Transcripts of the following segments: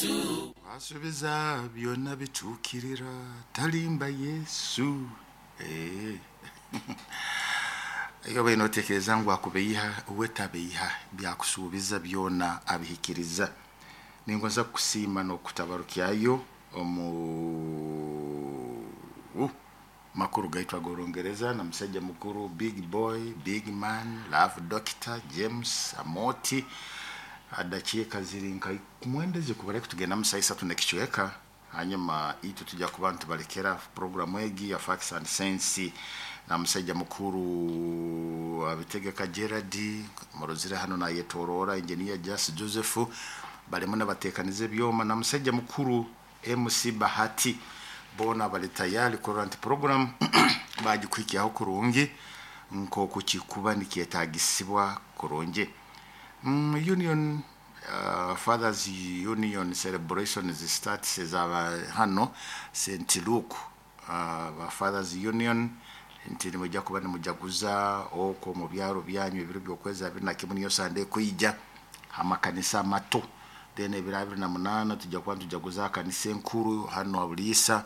Yesu. Asuubiza byonna bituukirira, talimba Yesu. Eh. Iyo baine otekereza ngu akubeiha, uwe tabeiha, byakusuubiza byona abihikiriza. Ningonza kukusiima n'okutabarukyayo omu makuru gaitu ag'Orungereza na musajja mukuru big boy, big man, love doctor James Amoti. Adakiika ziri nka 90 zikubara kutugenda mu saa 3 n'ekicweka, hanyuma itwe tujja kuba nitubalekera programu egi ya Facts and Sense na musajja mukuru abitegeka Gerard murozire hano nayetorora engineer Jas Joseph balimu nabatekaniza ebyoma na musajja mukuru MC Bahati bona bali tayari kurora nti program bagikuhikyaho kurungi nk'oku kikuba nikyetagisibwa kurungi. Union Fathers Union celebrations starts ezaba hano St Luke, ba Fathers Union nti nimujja kuba nimujaguza okwo mu byaro byanyu ebiro by'okwezi 21 niyo Sande ekwija amakanisa amato, then ebiro 28 tujja kuba nitujaguza akanisa enkuru hano Buliisa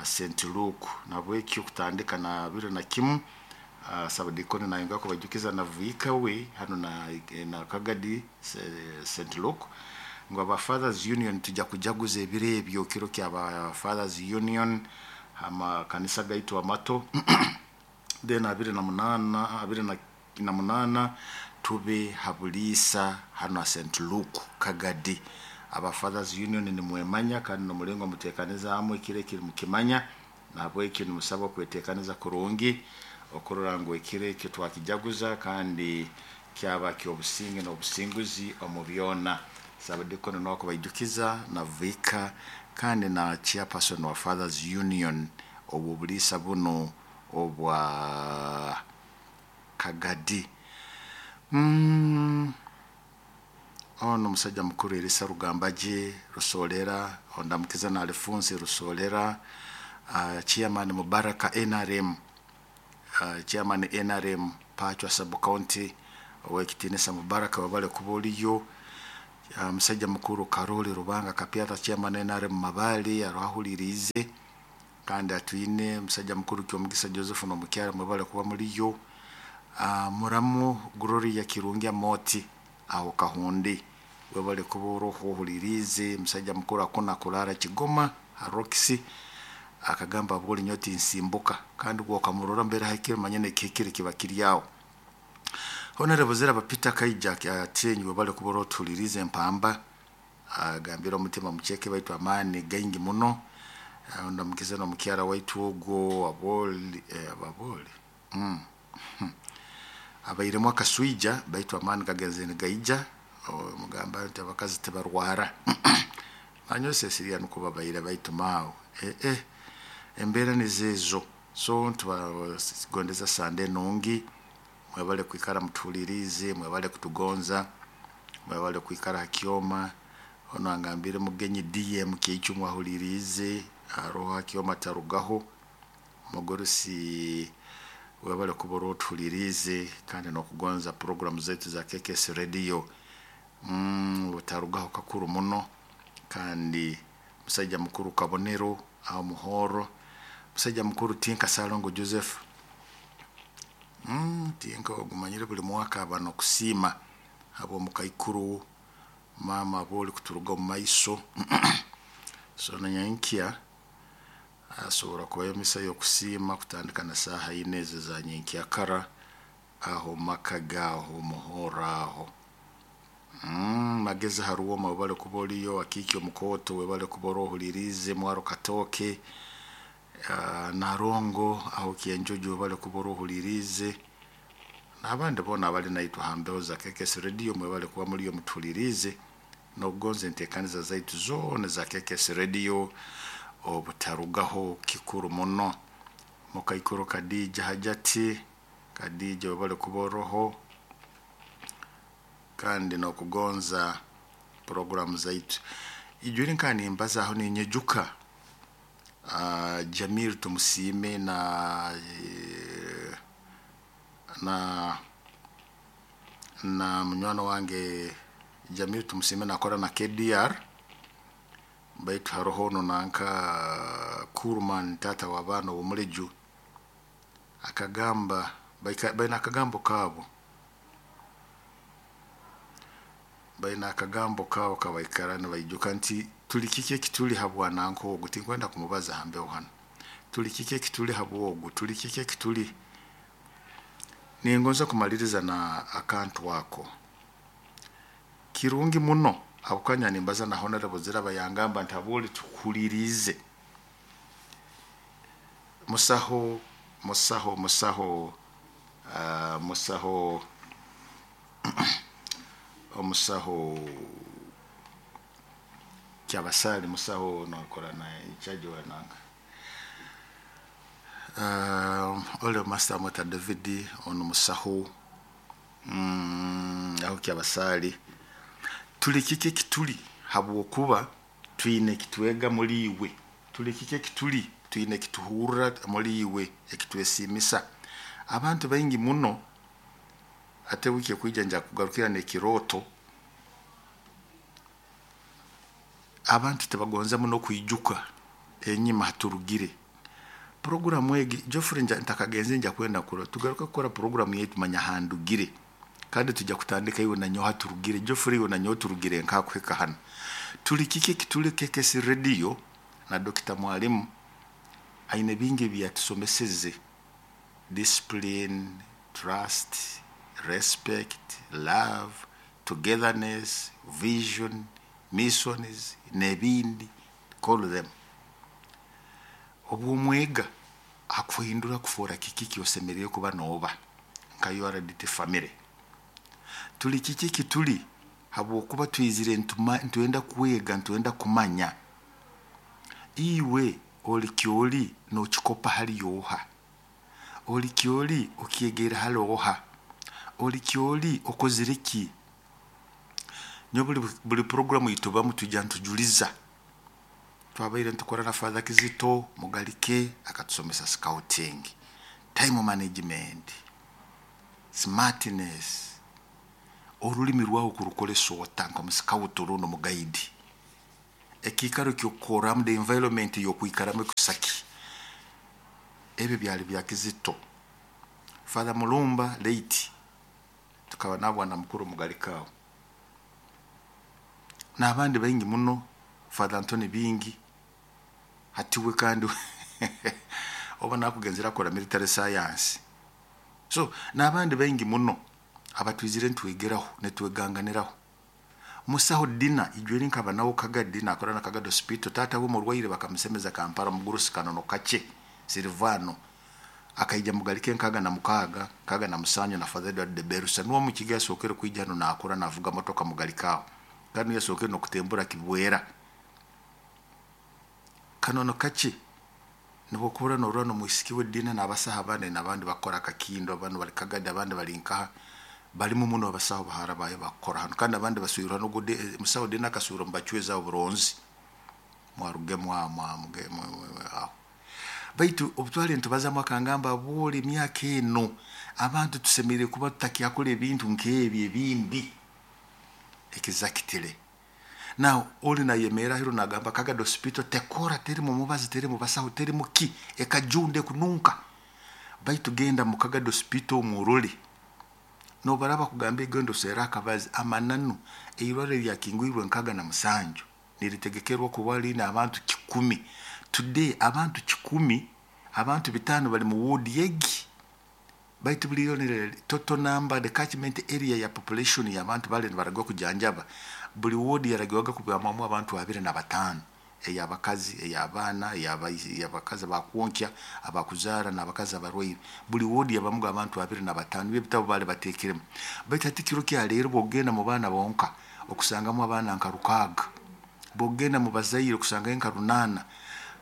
St Luke. Nabwekyo kutandika na 21, Sabadikoni nayongera kubajukiza na viika we hano na Kagadi St Luke ngu aba Fathers Union tujja kujaguza ebiro ebyo kiro kya ba Fathers Union amakanisa gaitu amato then 28 tube habuliisa hano ha St Luke Kagadi. Aba Fathers Union nimwemanya kandi nomulingo mutekanizaamu ekiro ekiri mukimanya, nahabwekyo nimusabwa kwetekaniza kurungi okurora ngu ekiro ekyo twakijaguza kandi kyaba ky'obusinge n'obusinguzi omu byona. Sabadikoni nuwe akubaijukiza na viika kandi na chairperson wa Fathers Union obw'obuliisa bunu obwa Kagadi. Ono omusajja mukuru Erisa Rugambage Rusolera, ondamukiza na Alphonse Rusolera, chairman Mubaraka NRM, chairman NRM Pachwa sub county ow'ekitinisa Mubaraka wabale kuba oliyo. Musajja mukuru Karoli Rubanga Kapyata chairman NRM Mabale aruhahuliriize kandi atwine musajja mukuru Kyomugisa Joseph n'omukyara mwebale kuba muliyo. Muramu Gloria Kirungi Amoti aho Kahundi webale kuba oroho ohuliriize. Musajja mukuru Akuna Kurara Kigoma Roxy akagamba bwoli nyoti nsimbuka kandi gwokamurora mbere hakire manye nekihikire kiba kiri aho. Honorable Ziraba Peter Kaija atenyi webale kuba orotulirize empamba, agambira omutima mucheke baitu amaani gaingi muno. Ndamukiza n'omukyara waitu ogwo aboli, ababoli abairemu akaswija baitu amaani kagenze nigaija, mugamba nti abakazi tibarwara manyo Cecilia nuko babaire baitu maawe embeera nizeezo. So ntubagondeza Sande nungi, mwebale kwikara mutulirize, mwebale kutugonza, mwebale kwikara hakyoma. Ono angambire mugenyi DM kyeicu mwahulirize aroho hakyoma tarugaho mugurusi webale kuba otuhulirize kandi n'okugonza program zaitu za KKS Radio. Butarugaho kakuru muno kandi musajja mukuru Kabonero aho Muhoro, musajja mukuru Tinka Salongo Joseph. Tinka ogumanyire buli mwaka aba n'okusiima habw'omukaikuru maama abooli kuturuga omu maiso so nanyenkya asobora kubayo emisa y'okusiima kutandika na saaha ina ezo za nyenkyakara aho maka gaaho Muhoro aho. Magezi haruwoma webale kuba oliyo, Akiiki omukoto webale kuba orohuliriize, Mwaro Katooke, Narongo aho Kyenjojo webale kuba orohuliriize n'abandi boona abali naitwe ha mbeho za KKS Radio mwebale kuba muliyo mutuhuliriize n'okugonza enteekaniza zaitu zoona za KKS Radio obutarugaho kikuru muno. Mukaikuru Kadija Hajati Kadija webale kuba oroho kandi n'okugonza programu zaitu. Ijwire nka nimbazaho ninyejuka Jamil Tumusiime na munywani wange Jamil Tumusiime nakora na KDR. Baitu haroho ono nanka Kurman, taata w'abaana ow'omuleju, akagamba baina akagambo kaabo, baina akagambo kaabo kabaikara nibaijuka nti tuli kiki ekituli habwa nanka ogu. Tinkwenda kumubaza hambeho hanu. Tuli kiki ekituli habwogu, tuli kiki ekituli. Ningonza kumaliriza na akantu ako kirungi muno. Habwokanya nimbaza na Honorable Ziraba, yangamba nti habwoli tukuhuliriize. Musaho musaho musaho musaho omusaho Kyabasali, musaho nokora na in-charge wa nanka ole master Mweta David, ono musaho aho Kyabasali. Tuli kiki ekituli habwokuba twine ekitwega muri iwe. Tuli kiki ekituli, twine ekituhurra muri iwe ekitwesimisa. Abantu baingi muno, ate wiki ekwija nja kugarukira n'ekirooto. Abantu tibagonza muno kwijuka enyima haturugire. Puroguramu egi, Geoffrey, ntakagenze nja kwenda kurora tugaruke kukora puroguramu yaitu manya handugire, kandi tujja kutandika iwe nanyowe haturugire. Geoffrey, iwe nanyowe turugire nkaha kuhika hanu? Tuli kiki ekituli. KKC Radio na Dr. Mwalimu aine bingi ebyatusomeseze: discipline, trust, respect, love, togetherness, vision, missions n'ebindi, call them. Obwomwega akuhindura kufoora kiki kyosemeriire kuba nooba nka URDT family. Tuli kiki ekituli habwokuba twizire ntwenda kwega, ntwenda kumanya. Iwe oli kyoli nokikopa hali oha? Oli kyoli okyegere hali oha? Oli kyoli okozire ki? Nyowe buli puroguramu yitubamu twija ntujuliza. Twabaire nitukora na Father Kizito Mugalike, akatusomesa scouting, time management, smartness, orulimi rwawe kurukolesa ota nka omusikautu rundi omugaidi, ekiikaro kyokukorramu, the environment yokwikaramu ekusaki. Ebyo byali bya Kizito. Father Mulumba late, tukaba nabwana mukuru Mugalike aho n'abandi baingi muno, Father Antony bingi hatiwe, kandi oba nakugenzera akora military science. So n'abandi baingi muno abatwizire ntwegeraho, nitweganganiraho. Musaho Dina ijweri nkaba nawe Kagadi, nakora na Kagadi Hospital. Taata we murwaire, bakamusemeza Kampala, mugurusi Kanono Kache Silvano akaija Mugalike 66, 67 na Father Edward de Berusa. Nuwe mukiga yasookere kwija hano nakora, navuga motoka Mugalike aho, kandi yasookere nokutembura Kibwera. Kanono Kache nibwo kuhura norora nomwisiki we Dina n'abasaho abandi n'abandi bakora akakindo. Abandi bali Kagadi, abandi bali nkaha, balimu muno abasaho bahara bayo bakora hano, kandi abandi baswirwa hano. Musaho Dina akaswirwa mu Bacwezi aho Buronzi, mwaruge mwa mwa aho. Baitu obutwali nitubazamu, akangamba bwoli emyaka eno abantu tusemeriire kuba tutakyakora ebintu nk'ebi ebindi exactly. Now oli nayemera hiro nagamba Kagadi Hospital tekora, terimu mubazi, terimu basaho, terimu ki, ekajunda, ekununka. Baitu genda mu Kagadi Hospital omurole, nobaraba kugamba egenda osera akabazi. Amananu, eirwariro lyakingwirwe 67 niritegekerwa kuba line abantu 1,000. Today abantu 1,000, abantu 5 bali mu ward yegi. Baitu buli total number, the catchment area ya population y'abantu bali nibaragwa kujanjaba, buli ward yaragibwaga kubamamu abantu 25, ey'abakazi, ey'abaana, ey'abakazi abakwonkya, abakuzaara n'abakazi abarwaire. Buli ward yabamuga abantu 25, ebitabo bali bateekiremu. Baitu hati kiro kya leero, bwogenda mu baana bonka okusangamu abaana nka 6, bwogenda mu bazaire okusangayo nka 8.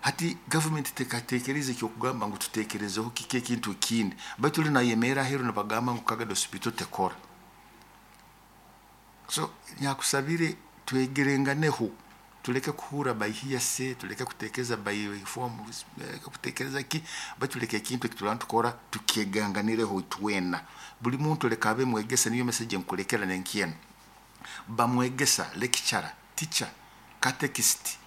Hati gavumenti tekatekereza ekyokugamba ngu tutekerezeho kiki ekintu ekindi. Baitu oli nayemerra aheeru nibagamba ngu Kagadi Hospital tekora. So nyakusabire twegerenganeho, tuleke kuhura by hearsay, tuleke kutekereza by form, kutekereza ki, baitu tuleke ekintu ekituraaba nitukora tukyeganganireho itwena. Buli muntu leka abe mwegesa. Niyo message nkulekera nenkyeno. Bamwegesa, lecturer, teacher, catechist.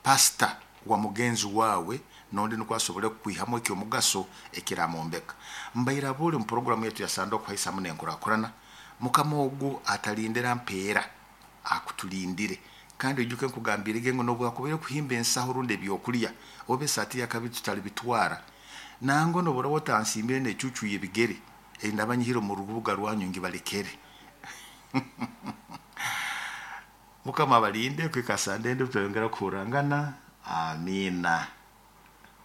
Pasita wa mugenzi wawe nondi nukwo asobole kukwihamu ekyomugaso ekiramwombeka. Mbairabule mu programu yetu ya Sande Okuhaisamu n'Enkurakurana. Mukama ogu atalindira mpeera, akutulindire. Kandi oijuke nkugambirege ngu nobwakubaire kuhimba ensaho rundi ebyokulya oba esaati yakabiri tutalibitwara. Nangwa noburaba otansiimire n'ecucu y'ebigere endaba nyihire omu rubuga rwanyu ngibalekere. Mukama abalinde kuhika Sande endi tweyongera kuhurrangana. Amiina.